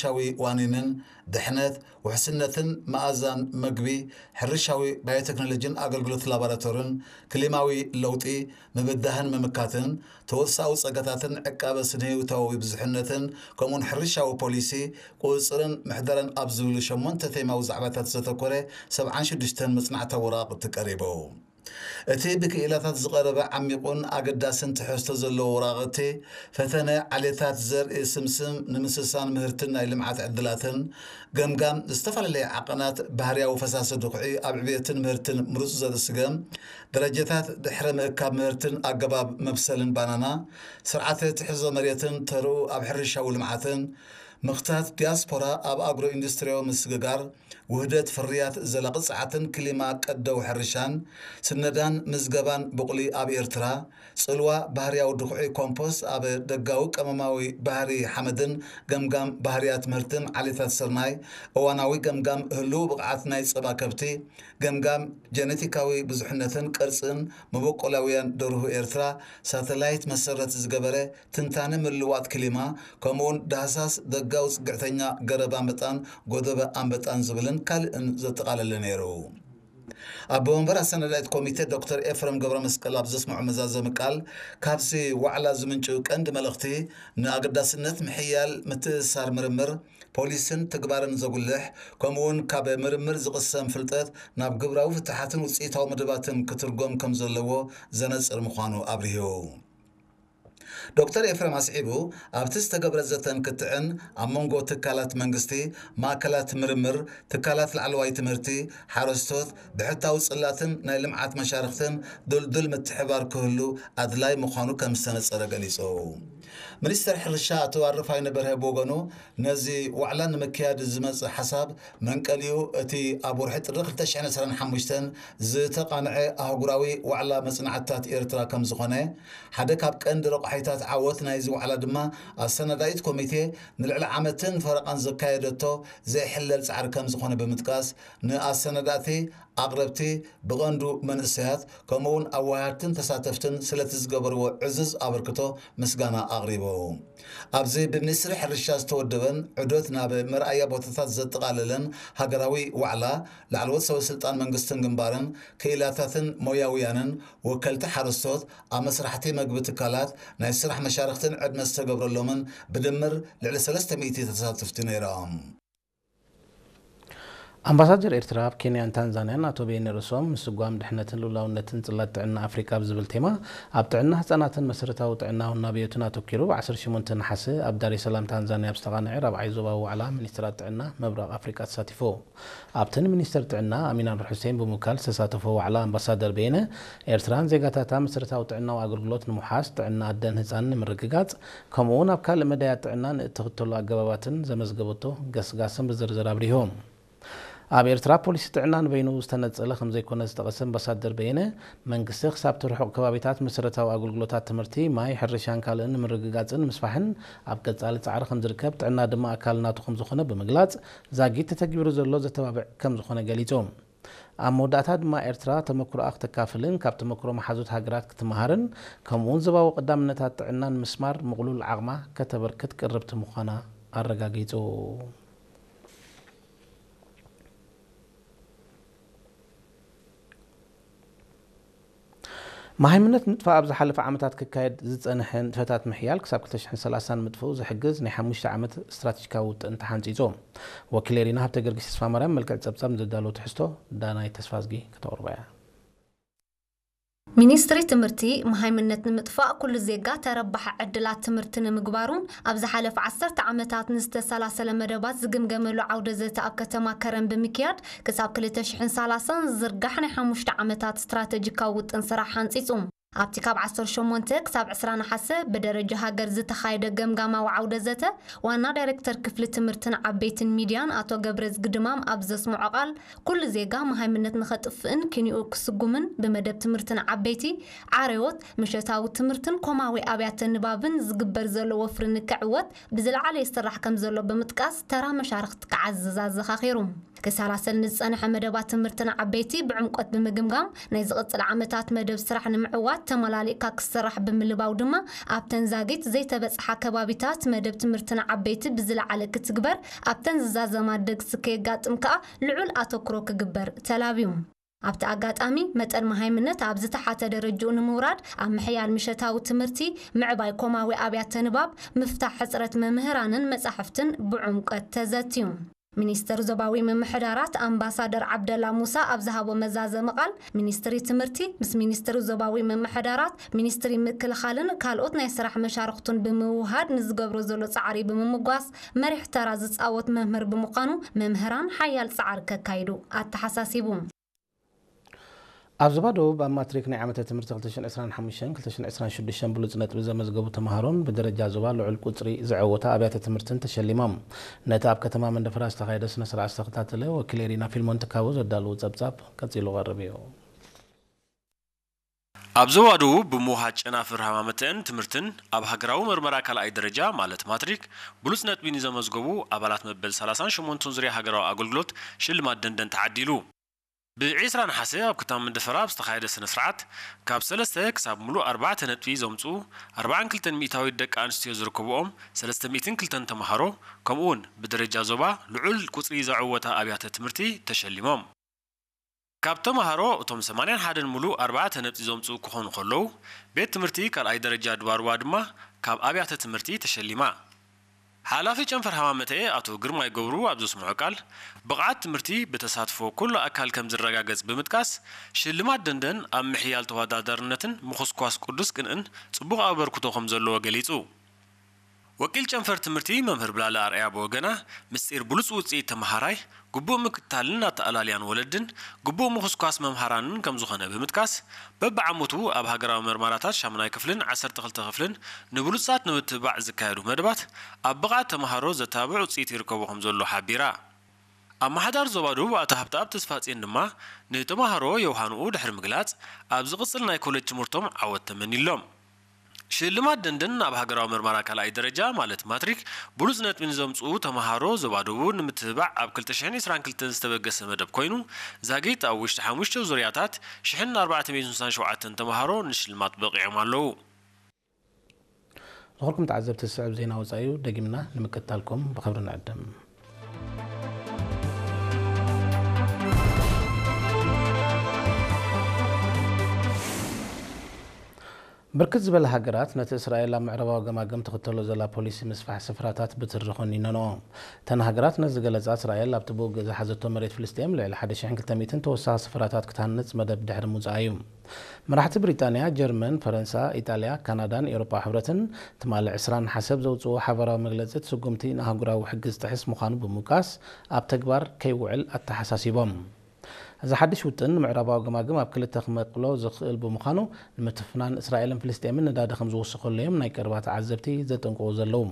ሕርሻዊ ዋኒንን ድሕነት፣ ውሕስነትን መኣዛን መግቢ፣ ሕርሻዊ ባዮቴክኖሎጂን ኣገልግሎት ላቦራቶርን፣ ክሊማዊ ለውጢ፣ ምብዳህን ምምካትን፣ ተወሳዊ ጸጋታትን ዕቃበ ስነ-ህይወታዊ ብዙሕነትን፣ ከምኡውን ሕርሻዊ ፖሊሲ፣ ቁጽጽርን ምሕደራን ኣብ ዝብሉ ሸሞንተ ቴማዊ ዛዕባታት ዘተኮረ ሰብዓን ሽዱሽተን መጽናዕታዊ ወረቓቕቲ ቀሪቡ። እቲ ብክኢላታት ዝቐረበ ዓሚቑን ኣገዳስን ትሕዝቶ ዘለዎ ወረቓቕቲ፣ ፈተነ ዓሌታት ዘርኢ ስምስም ንምስሳን ምህርትን ናይ ልምዓት ዕድላትን፣ ገምጋም ዝተፈላለየ ዓቐናት ባህርያዊ ፈሳሲ ድኹዒ ኣብ ዕብየትን ምህርትን ምሩጽ ዘርኢ ስገም፣ ደረጃታት ድሕረ ምእካብ ምህርትን ኣገባብ መብሰልን ባናና፣ ስርዓተ ትሕዞ መሬትን ተርኡ ኣብ ሕርሻዊ ልምዓትን፣ ምኽታት ዲያስፖራ ኣብ ኣግሮ ኢንዱስትሪያዊ ምስግጋር፣ ውህደት ፍርያት ዘላቒ ጸዓትን ክሊማ ቀደው ሕርሻን፣ ስነዳን ምዝገባን ቡቕሊ ኣብ ኤርትራ፣ ጽልዋ ባህርያዊ ድኹዒ ኮምፖስት ኣብ ደጋዊ ቀመማዊ ባህሪ ሓመድን ገምጋም ባህርያት ምህርትን ዓሌታት ስርናይ፣ እዋናዊ ገምጋም ህሉው ብቕዓት ናይ ጸባ ከብቲ፣ ገምጋም ጀነቲካዊ ብዙሕነትን ቅርጽን መበቆላውያን ደርሁ ኤርትራ፣ ሳተላይት መሰረት ዝገበረ ትንታነ ምልዋጥ ክሊማ፣ ከምኡውን ዳህሳስ ደጋዊ ጽግዕተኛ ገረብ ኣንበጣን ጎደበ ኣንበጣን ዝብልን ካልእን ዘጠቓለለ ነይሩ። ኣቦ መንበር ኣሰናዳኢት ኮሚቴ ዶክተር ኤፍረም ገብረ መስቀል ኣብ ዘስምዖ መዛዘሚ ቃል፣ ካብዚ ዋዕላ ዝምንጩ ቀንዲ መልእኽቲ ንኣገዳስነት ምሕያል ምትእስሳር ምርምር፣ ፖሊስን ትግባርን ዘጉልሕ፣ ከምኡውን ካብ ምርምር ዝቕሰም ፍልጠት ናብ ግብራዊ ፍትሓትን ውፅኢታዊ መደባትን ክትርጎም ከም ዘለዎ ዘነፅር ምዃኑ ኣብሪሁ። ዶክተር ኤፍረም ኣስዒቡ፣ ኣብቲ ዝተገብረ ዘተን ክትዕን ኣብ መንጎ ትካላት መንግስቲ፣ ማእከላት ምርምር፣ ትካላት ላዕለዋይ ትምህርቲ፣ ሓረስቶት፣ ብሕታዊ ጽላትን ናይ ልምዓት መሻርኽትን ድልዱል ምትሕባር ክህሉ ኣድላይ ምዃኑ ከም ዝተነጸረ ገሊጹ። ሚኒስተር ሕርሻ ኣቶ ኣረፋይነ በርሀ ብወገኑ፣ ነዚ ዋዕላ ንምክያድ ዝመጽእ ሓሳብ መንቀሊኡ እቲ ኣብ ወርሒ ጥሪ ክልተ ሽሕን ዕስራን ሓሙሽተን ዝተቓንዐ ኣህጉራዊ ዋዕላ መጽናዕትታት ኤርትራ ከም ዝኾነ፣ ሓደ ካብ ቀንዲ ረቋሒታት ዓወት ናይዚ ዋዕላ ድማ ኣሰናዳኢት ኮሚቴ ንልዕሊ ዓመትን ፈረቓን ዘካየደቶ ዘይሕለል ጻዕሪ ከም ዝኾነ ብምጥቃስ፣ ንኣሰናዳእቲ፣ ኣቕረብቲ፣ ብቐንዱ መንእሰያት፣ ከምኡውን ኣወሃድትን ተሳተፍትን ስለቲ ዝገበርዎ ዕዙዝ ኣበርክቶ ምስጋና ኣቕሪቡ። ኣብዚ ብሚኒስትሪ ሕርሻ ዝተወደበን ዑደት ናብ መርኣያ ቦታታት ዘጠቓለለን ሃገራዊ ዋዕላ፣ ላዕለዎት ሰበ ስልጣን መንግስትን ግንባርን፣ ክኢላታትን ሞያውያንን፣ ወከልቲ ሓረስቶት፣ ኣመስራሕቲ መግቢ ትካላት፣ ናይ ስራሕ መሻርኽትን ዕድመ ዝተገብረሎምን ብድምር ልዕሊ ሰለስተ ሚእቲ ተሳተፍቲ ነይሮም። ኣምባሳደር ኤርትራ ኣብ ኬንያን ታንዛንያን ኣቶ በየነ ርእሶም፣ ምስጓም ድሕነትን ልኡላውነትን ጽላት ጥዕና ኣፍሪቃ ብዝብል ቴማ፣ ኣብ ጥዕና ህጻናትን መሰረታዊ ጥዕናዊ ናብዮትን ኣተኲሩ፣ ብ ዓሰርተ ሸሞንተ ነሓሰ ኣብ ዳሬ ሰላም ታንዛንያ ኣብ ዝተቓንዐ ራብዓይ ዞባዊ ዋዕላ ሚኒስትራት ጥዕና ምብራቕ ኣፍሪቃ ተሳቲፉ። ኣብቲ ንሚኒስትር ጥዕና ኣሚን ኣንዋር ሑሴን ብምውካል ዝተሳተፎ ዋዕላ፣ ኣምባሳደር በየነ፣ ኤርትራን ዜጋታታ መሰረታዊ ጥዕናዊ ኣገልግሎት ንምውሓስ፣ ጥዕና ኣደን ህጻንን ንምርግጋጽ፣ ከምኡ'ውን ኣብ ካልእ መዳያት ጥዕና ንእትኽተሎ ኣገባባትን ዘመዝገበቶ ገስጋስን ብዝርዝር ኣብሪሁ። ኣብ ኤርትራ ፖሊሲ ጥዕና ንበይኑ ዝተነጸለ ከም ዘይኮነ ዝጠቐሰ ኣምባሳደር በየነ፣ መንግስቲ ክሳብቲ ርሑቕ ከባቢታት መሰረታዊ ኣገልግሎታት ትምህርቲ፣ ማይ፣ ሕርሻን ካልእን ንምርግጋጽን ንምስፋሕን ኣብ ቀጻሊ ጻዕሪ ከም ዝርከብ፣ ጥዕና ድማ ኣካል ናቱ ከም ዝኾነ ብምግላጽ፣ ዛጊት ተተግቢሩ ዘሎ ዘተባብዕ ከም ዝኾነ ገሊጹ። ኣብ መወዳእታ ድማ ኤርትራ ተመክሮኣ ክተካፍልን ካብ ተመክሮ መሓዙት ሃገራት ክትመሃርን፣ ከምኡ'ውን ዞባዊ ቀዳምነታት ጥዕና ንምስማር ምቕሉል ዓቕማ ከተበርክት ቅርብቲ ምዃና ኣረጋጊጹ። መሃይምነት ምጥፋእ ኣብ ዝሓለፈ ዓመታት ክካየድ ዝጸንሐ ንጥፈታት ምሕያል ክሳብ ክልተ ሽሕን ሰላሳን ምጥፍኡ ዝሕግዝ ናይ ሓሙሽተ ዓመት ስትራተጂካዊ ውጥን ተሓንጺጹ። ወኪል ኤሪና ሃብተ ጊዮርጊስ ተስፋማርያም መልክዕ ጸብጻብ ንዘዳለዎ ትሕዝቶ ዳናይ ተስፋዝጊ ከተቕርቦ እያ። ሚኒስትሪ ትምህርቲ፣ መሃይምነት ንምጥፋእ ኩሉ ዜጋ ተረባሒ ዕድላት ትምህርቲ ንምግባሩን ኣብ ዝሓለፈ ዓሰርተ ዓመታት ንዝተሰላሰለ መደባት ዝግምገመሉ ዓውደ ዘተ ኣብ ከተማ ከረን ብምክያድ፣ ክሳብ ክልተ ሽሕን ሰላሳን ዝዝርጋሕ ናይ ሓሙሽተ ዓመታት ስትራተጂካዊ ውጥን ስራሕ ሓንጺጹ። ኣብቲ ካብ ዓሰርተ ሸሞንተ ክሳብ ዕስራ ነሓሰ ብደረጃ ሃገር ዝተኻየደ ገምጋማዊ ዓውደ ዘተ፣ ዋና ዳይሬክተር ክፍሊ ትምህርትን ዓበይትን ሚድያን ኣቶ ገብረዝጊ ድማም ኣብ ዘስምዖ ቃል፣ ኩሉ ዜጋ መሃይምነት ንኸጥፍእን ኪንኡ ክስጉምን ብመደብ ትምህርትን ዓበይቲ፣ ዓረዎት፣ ምሸታዊ ትምህርትን ኮማዊ ኣብያተ ንባብን ዝግበር ዘሎ ወፍሪ ንክዕወት ብዝለዓለ ይስራሕ ከም ዘሎ ብምጥቃስ፣ ተራ መሻርኽቲ ክዓዝዝ ኣዘኻኺሩ። ክሰላሰል ንዝጸንሐ መደባት ትምህርትን ዓበይቲ ብዕምቆት ብምግምጋም፣ ናይ ዝቕጽል ዓመታት መደብ ስራሕ ንምዕዋት ተመላሊእካ ክስራሕ ብምልባው ድማ ኣብተን ዛጊት ዘይተበጽሓ ከባቢታት መደብ ትምህርቲ ንዓበይቲ ብዝለዓለ ክትግበር፣ ኣብተን ዝዛዘማ ደግሲ ከየጋጥም ከኣ ልዑል ኣተኩሮ ክግበር ተላብዩ። ኣብቲ ኣጋጣሚ መጠን መሃይምነት ኣብ ዝተሓተ ደረጅኡ ንምውራድ ኣብ ምሕያል ምሸታዊ ትምህርቲ፣ ምዕባይ ኮማዊ ኣብያተ ንባብ፣ ምፍታሕ ሕጽረት መምህራንን መጻሕፍትን ብዕምቀት ተዘትዩ። ሚኒስትር ዞባዊ ምምሕዳራት ኣምባሳደር ዓብደላ ሙሳ ኣብ ዝሃቦ መዛዘሚ ቃል፣ ሚኒስትሪ ትምህርቲ ምስ ሚኒስትሪ ዞባዊ ምምሕዳራት፣ ሚኒስትሪ ምክልኻልን ካልኦት ናይ ስራሕ መሻርኽቱን ብምውሃድ ንዝገብሮ ዘሎ ጻዕሪ ብምምጓስ፣ መሪሕ ተራ ዝጻወት መምህር ብምዃኑ መምህራን ሓያል ጻዕሪ ከካይዱ ኣተሓሳሲቡ። ኣብ ዞባ ደቡብ ኣብ ማትሪክ ናይ ዓመተ ትምህርቲ ክልተ ሽሕን ዕስራን ሓሙሽተን ክልተ ሽሕን ዕስራን ሽዱሽተን ብሉጽ ነጥቢ ዘመዝገቡ ተምሃሮን ብደረጃ ዞባ ልዑል ቁጽሪ ዘዐወታ ኣብያተ ትምህርትን ተሸሊሞም። ነቲ ኣብ ከተማ መንደፈራ ዝተኻየደ ስነ ስርዓት ዝተኸታተለ ወኪል ኤሪና ፊልሞን ትካቦ ዘዳለዎ ጸብጻብ ቀጺሉ ቀርብ እዩ። ኣብ ዞባ ደቡብ ብምውሃድ ጨናፍር ሃማመተአን ትምህርትን ኣብ ሃገራዊ መርመራ ካልኣይ ደረጃ ማለት ማትሪክ ብሉጽ ነጥቢ ንዘመዝገቡ ኣባላት መበል ሰላሳን ሸሞንተን ዙርያ ሃገራዊ ኣገልግሎት ሽልማት ደንደን ተዓዲሉ። ብ ዒስራ ነሓሰ ኣብ ከተማ መንደፈራ ኣብ ዝተኻየደ ስነ ስርዓት፣ ካብ ሰለስተ ክሳብ ምሉእ ኣርባዕተ ነጥቢ ዘምጽኡ ኣርባዓን ክልተን ሚእታዊት ደቂ ኣንስትዮ ዝርከብኦም ሰለስተ ሚእትን ክልተን ተምሃሮ፣ ከምኡውን ብደረጃ ዞባ ልዑል ቁጽሪ ዘዐወታ ኣብያተ ትምህርቲ ተሸሊሞም። ካብ ተምሃሮ እቶም ሰማንያን ሓደን ምሉእ ኣርባዕተ ነጥቢ ዘምጽኡ ክኾኑ ከለዉ፣ ቤት ትምህርቲ ካልኣይ ደረጃ ድባርዋ ድማ ካብ ኣብያተ ትምህርቲ ተሸሊማ። ሓላፊ ጨንፈር ሃማመተኤ ኣቶ ግርማይ ገብሩ ኣብ ዘስምዖ ቃል፣ ብቕዓት ትምህርቲ ብተሳትፎ ኩሉ ኣካል ከም ዝረጋገጽ ብምጥቃስ፣ ሽልማት ደንደን ኣብ ምሕያል ተወዳዳርነትን ምኹስኳስ ቅዱስ ቅንእን ጽቡቕ ኣበርክቶ ከም ዘለዎ ገሊጹ። ወኪል ጨንፈር ትምህርቲ መምህር ብላለ ኣርኣያ ብወገና፣ ምስጢር ብሉጽ ውጽኢት ተመሃራይ፣ ግቡእ ምክትታልን ኣተኣላልያን ወለድን፣ ግቡእ ምኹስኳስ መምሃራንን ከም ዝኾነ ብምጥቃስ፣ በብዓመቱ ኣብ ሃገራዊ መርማራታት ሻሙናይ ክፍልን ዓሰርተ ክልተ ክፍልን ንብሉጻት ንምትብባዕ ዝካየዱ መደባት፣ ኣብ ብቕዓት ተመሃሮ ዘተባብዕ ውጽኢት ይርከቦ ከም ዘሎ ሓቢራ። ኣመሓዳሪ ዞባ ደቡብ ኣቶ ሃብተኣብ ተስፋጽዮን ድማ፣ ንተመሃሮ የውሃንኡ ድሕሪ ምግላጽ፣ ኣብ ዝቕጽል ናይ ኮሌጅ ትምህርቶም ዓወት ተመኒሎም። ሽልማት ደንደን ኣብ ሃገራዊ መርመራ ካልኣይ ደረጃ ማለት ማትሪክ ብሉጽ ነጥቢ ንዘምጽኡ ተመሃሮ ዞባ ደቡብ ንምትብባዕ ኣብ ክልተ ሽሕን ዕስራን ክልተን ዝተበገሰ መደብ ኮይኑ፣ ዛጊት ኣብ ውሽጢ ሓሙሽተ ዙርያታት ሽሕን ኣርባዕተ ሚእትን ስሳን ሸውዓተን ተመሃሮ ንሽልማት በቒዖም ኣለዉ። ዝኾንኩም ተዓዘብቲ ዝስዕብ ዜና ወጻኢ እዩ፣ ደጊምና ንምክትታልኩም ብኽብሪ ንዕድም። ብርክት ዝበላ ሃገራት ነቲ እስራኤል ኣብ ምዕራባዊ ገማግም ትኽተሎ ዘላ ፖሊሲ ምስፋሕ ስፍራታት ብትሪ ኮኒነንኦ። እተን ሃገራት ነዚ ዝገለጻ፣ እስራኤል ኣብቲ ብውግእ ዝሓዘቶ መሬት ፍልስጤም ልዕሊ ሓደ ሽሕን ክልተ ሚእትን ተወሳኺ ስፍራታት ክትሃንጽ መደብ ድሕሪ ምውጻኣ እዩ። መራሕቲ ብሪጣንያ፣ ጀርመን፣ ፈረንሳ፣ ኢጣልያ፣ ካናዳን ኤውሮጳ ሕብረትን ትማሊ ዕስራ ነሓሰ ኣብ ዘውጽእዎ ሓባራዊ መግለጺ፣ እቲ ስጉምቲ ንኣህጉራዊ ሕጊ ዝጥሕስ ምዃኑ ብምውቃስ፣ ኣብ ተግባር ከይውዕል ኣተሓሳሲቦም። እዚ ሓድሽ ውጥን ንምዕራባዊ ገማግም ኣብ ክልተ ክመቕሎ ዝኽእል ብምዃኑ፣ ንምትፍናን እስራኤልን ፍልስጤምን ነዳዲ ከም ዝውስኸሉ እዮም ናይ ቀረባ ተዓዘብቲ ዘጠንቅቑ ዘለዉ።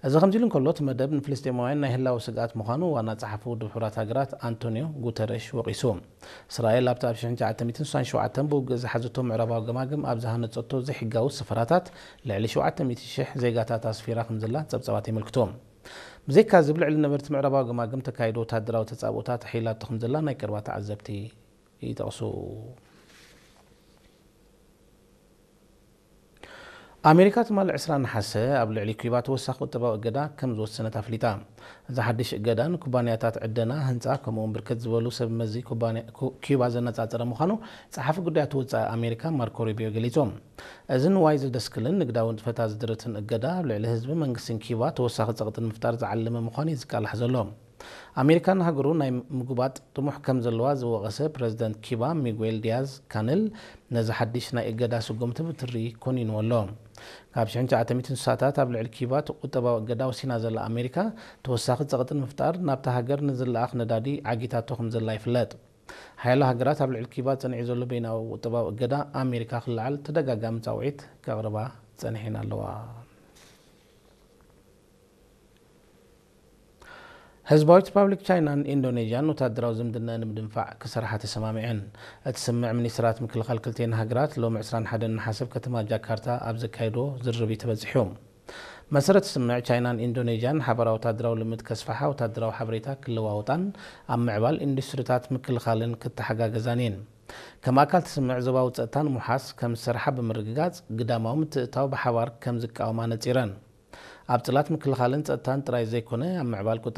እዚ ከምዚ ኢሉ እንከሎ፣ እቲ መደብ ንፍልስጤማውያን ናይ ህላወ ስግኣት ምዃኑ ዋና ጸሓፊ ውድብ ሕቡራት ሃገራት ኣንቶኒዮ ጉተረሽ ወቒሱ። እስራኤል ኣብቲ ኣብ ሽሕን ትሽዓተ ሚእትን ስሳን ሸውዓተን ብውግእ ዝሓዘቶ ምዕራባዊ ገማግም ኣብ ዝሃነጸቶ ዘይሕጋዊ ስፍራታት ልዕሊ ሸውዓተ ሚእቲ ሽሕ ዜጋታት ኣስፊራ ከም ዘላ ጸብጻባት የመልክቱ። ብዘይካ እዚ፣ ኣብ ልዕሊ ነበርቲ ምዕራባዊ ገማግም ተካይዶ ወተሃደራዊ ተጻብኦታት ኣሕይላቶ ከም ዘላ ናይ ቀረባ ተዓዘብቲ ይጠቕሱ። ኣሜሪካ ትማሊ ዕስራ ነሓሰ ኣብ ልዕሊ ኪዩባ ተወሳኺ ቁጠባዊ እገዳ ከም ዝወሰነት ኣፍሊጣ። እዚ ሓድሽ እገዳ ንኩባንያታት ዕደና፣ ህንጻ፣ ከምኡ'ውን ብርክት ዝበሉ ሰብ መዚ ኩባንያ-፣ ኩ-፣ ኪዩባ ዘነጻጸረ ምዃኑ ጸሓፊ ጉዳያት ወጻኢ ኣሜሪካ ማርኮ ሩቢዮ ገሊጹ። እዚ ንዋይ ዘደስክልን ንግዳዊ ንጥፈታት ዝድርትን እገዳ ኣብ ልዕሊ ህዝቢ መንግስትን ኪዩባ ተወሳኺ ጸቕጢ ንምፍጣር ዝዓለመ ምዃኑ እዩ ዝቃላሕ ዘሎ። ኣሜሪካ ንሃገሩ ናይ ምጉባጥ ጥሙሕ ከም ዘለዋ ዝወቐሰ ፕረዚደንት ኪባ ሚጉኤል ዲያዝ ካነል ነዚ ሓድሽ ናይ እገዳ ስጉምቲ ብትሪ ኮኒንዎ ኣሎ። ካብ ሽሕን ትሽዓተ ሚእትን ስሳታት ኣብ ልዕሊ ኪባ እቲ ቁጠባዊ እገዳ ወሲና ዘላ ኣሜሪካ፣ ተወሳኺ ጸቕጢ ንምፍጣር ናብታ ሃገር ንዝለኣኽ ነዳዲ ዓጊታቶ ከም ዘላ ይፍለጥ። ሓያሎ ሃገራት ኣብ ልዕሊ ኪባ ጸኒዑ ዘሎ በይናዊ ቁጠባዊ እገዳ ኣሜሪካ ክለዓል ተደጋጋሚ ጻውዒት ከቕርባ ጸኒሐን ኣለዋ። ህዝባዊት ሪፓብሊክ ቻይናን ኢንዶኔዥያን ወተሃደራዊ ዝምድና ንምድንፋዕ ክሰርሓ ተሰማሚዐን። እቲ ስምምዕ ሚኒስትራት ምክልኻል ክልቲኤን ሃገራት ሎሚ ዕስራን ሓደን ነሓሰ ኣብ ከተማ ጃካርታ ኣብ ዘካየዶ ዝርርብ እዩ ተበጺሑ። መሰረት ስምምዕ፣ ቻይናን ኢንዶኔዥያን ሓባራዊ ወተሃደራዊ ልምድ ከስፍሓ፣ ወተሃደራዊ ሓበሬታ ክለዋወጣን ኣብ ምዕባል ኢንዱስትሪታት ምክልኻልን ክተሓጋገዛን እየን። ከም ኣካል ትስምዕ ዞባዊ ጸጥታ ንምውሓስ ከም ዝሰርሓ ብምርግጋጽ፣ ግዳማዊ ምትእትታው ብሓባር ከም ዝቃወማ ነጺረን። ኣብ ጽላት ምክልኻልን ጸጥታን ጥራይ ዘይኮነ፣ ኣብ ምዕባል ቁጠባ